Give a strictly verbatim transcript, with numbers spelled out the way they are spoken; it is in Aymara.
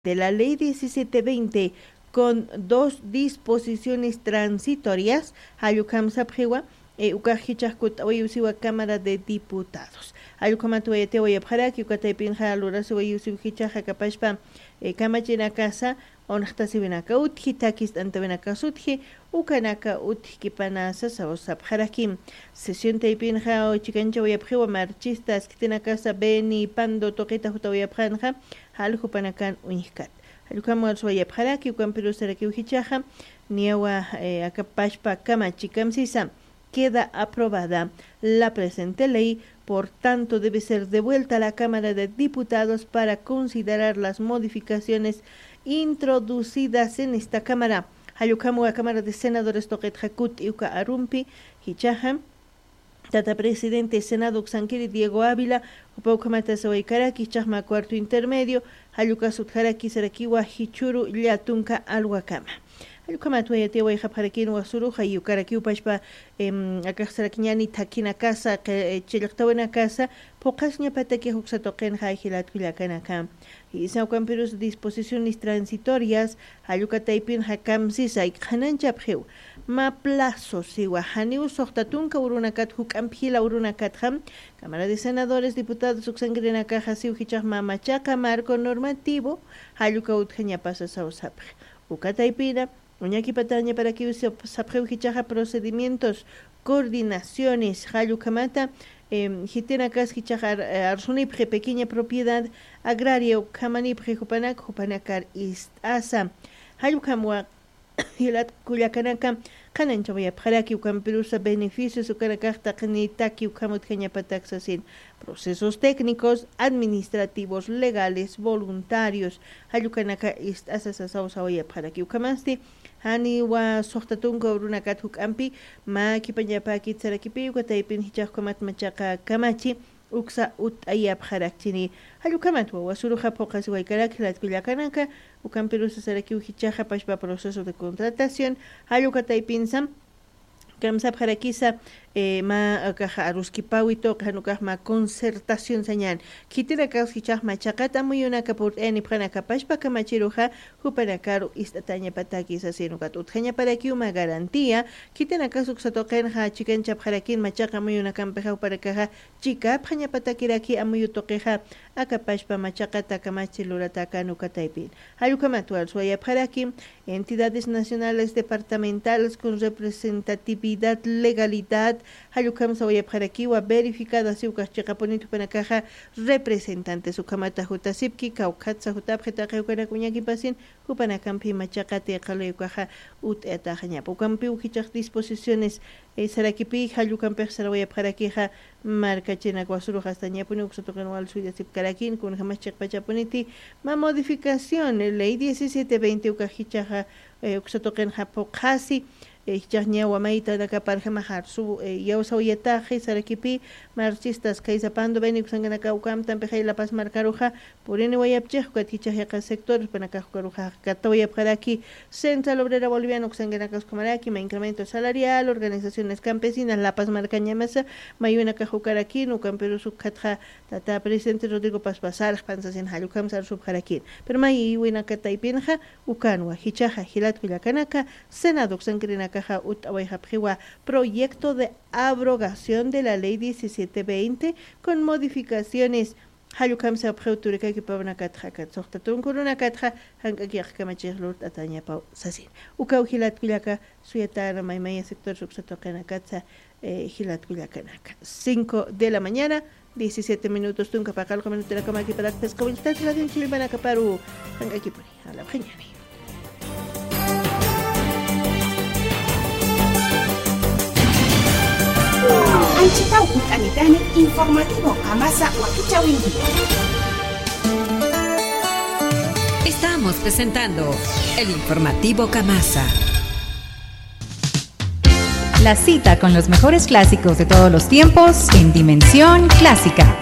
de la ley diecisiete veinte con dos disposiciones transitorias, jallukam sapxiwa, eh, ukax jichax kut'awayiw siwa Cámara de Diputados. Jallukamat wayatiwayapxaraki, uka taypinxa lurasiwayiw siw jichaxa kapashpa, eh, kamachinakasa, unaxtasiwinaka utji, takist'antawinakas utji, ukanaka utjkipanasa saw sapxaraki. Sesión taypinxa chikanchawayapxiwa marchistas khitinakasa Beni Pando tuqita jutawayapxanxa, jall jupanakan uñjkat. Jallukam warswayapxaraki, ukampirusarakiw jichaxa, niyawa, eh, akapashpa kamachi kamsisa. Queda aprobada la presente ley, por tanto debe ser devuelta a la Cámara de Diputados para considerar las modificaciones introducidas en esta Cámara. Jallukam wa Cámara de Senadores tuqitxa kut'i uka arumpi, jichaxa, tata presidente Senado uksankiri Diego Ávila, jupa ukhamata sawaykaraki, jichaxma cuarto intermedio, jallukas utjaraki sarakiwa jichhüru llätunka alwakama. Jallukhamat wayatiwayxapxarakin wasuruxa, ukarakiw pachpa, em, akax sarakiñäni thakhinakasa, qi-, eh, chillqtawinakasa, phuqhasiñapatakix uksa tuqinxa jilat kullakanaka. Jisa ukampirus disposiciones transitorias, jalluka taypinxa kamsisa, qhanañchapxiw. Mä plazo siwa, janiw suxta tunka urunakat juk'amp jila urunakatxa, Cámara de Senadores, Diputados uksankirinakaxa siw jichax mä machaqa marco normativo, jalluka utjañapasa saw sapxi. Uka taypina, uñakipatañaparakiw sap-, sapxiw jichaxa procedimientos, coordinaciones, jallukhamata, em, jitinakas jichax ar-, eh, arsunipxi pequeña propiedad agraria ukhamanipxi jupanak, jupanakar ist'asa. Jallukhamwa jilat kullakanaka, qhanañchawayapxaraki, ukampirusa beneficios ukanakax taqinitaki ukham utjañapatak sasin. Procesos técnicos, administrativos, legales, voluntarios, jallukanaka ist'asa sasaw sawayapxaraki. Ukhamasti, janiwa suxta tunka urunakat juk'ampi, mä khipañapäkit sarakipi, uka taypin jichax ukhamat machaqa kamachi, uksa ut'ayapxarakchini. Jallukhamat wawasuruxa phuqhasiwaykarak jilat kullakanaka, ukampirusa sarakiw jichaxa pachpa proceso de contratación, jalluka taypinsa, kamsapxarakisa, eh, mä akaxa aruskipäwi tuqi, jan ukax mä concertación sañäni. Khitinakax jichax machaqat amuyunaka purt'ayanipxanaka pachpa kamachiruxa, jupanakaru ist'atañapataki sasin ukat utjañaparakiw mä garantía, khitinakas uksa tuqinxa chikanchapxarakin machaqa amuyunakampixa jupanakaxa chikapxañapatakiraki amuyu tuqixa, aka pachpa machaqata kamachi luratäkän uka taypin. Jallukhamat warswayapxaraki, entidades nacionales departamentales con representatividad, legalidad, jallukhamsa wayapxarakiwa verificada siw ukax chiqapunit jupanakaxa representantes ukhamata jutasipki, kawkhatsa jutapxi taqi ukanak uñakipasin, jupanakampi machaqati qhalay ukaxa ut'ayataxañapa. Ukampiw jichax disposiciones, eh, sarakipi, jallukampix sarawayapxarakixa, markachinak wasuruxa astañapuni uksa tuqin wal suyasipkarakin, kunjamas chiqpachapuniti, mä modificación, eh, ley diecisiete veinte ukax jichaxa, eh, uksa tuqinxa phuqhasi, eh, jichax ñawa maytanakaparjamax arsu, eh, yawsawayataxi sarakipi, marchistas khaysa Pando Beni uksankanaka ukamtampixay La Paz markaruxa, puriniwayapchix, ukat jichax yaqha sectores jupanakax ukaruxa katawayapxaraki, Central Obrera Boliviana uksankanakas ukhamaraki, mä incremento salarial, organizaciones campesinas, La Paz markañamasa, mayunakax ukarakin, ukampirus ukhatxa, tata presidente Rodrigo Paz Paz sarxpan sasin jallukham sarsupxarakin. Pero mayiwinaka taypinxa, ukanwa, jichaxa, jilat kullakanaka, Senado uksankirinakaxa, ut'awayxapxiwa, proyecto de abrogación de la ley diecisiete veinte con modificaciones, jallukhamsa apxiw turikaki pawnakatxa, kat suxta tunka urunakatxa, jank'aki yaqkamachix lurt'atañapaw sasin. Ukaw jilat kullaka, suyatana maymaya sector uksa tuqinakatsa, eh, jilat kullakanaka. Cinco de la mañana, diecisiete minutos, tunka paqallqu minutunakamakiparakt'asqa, willt'at radio chillpanakaparu, jank'akipuni, alapxañani. Anchitaw ut'anitani informativo Kamasa wakichäwinki. Estamos presentando el informativo Kamasa. La cita con los mejores clásicos de todos los tiempos en Dimensión Clásica.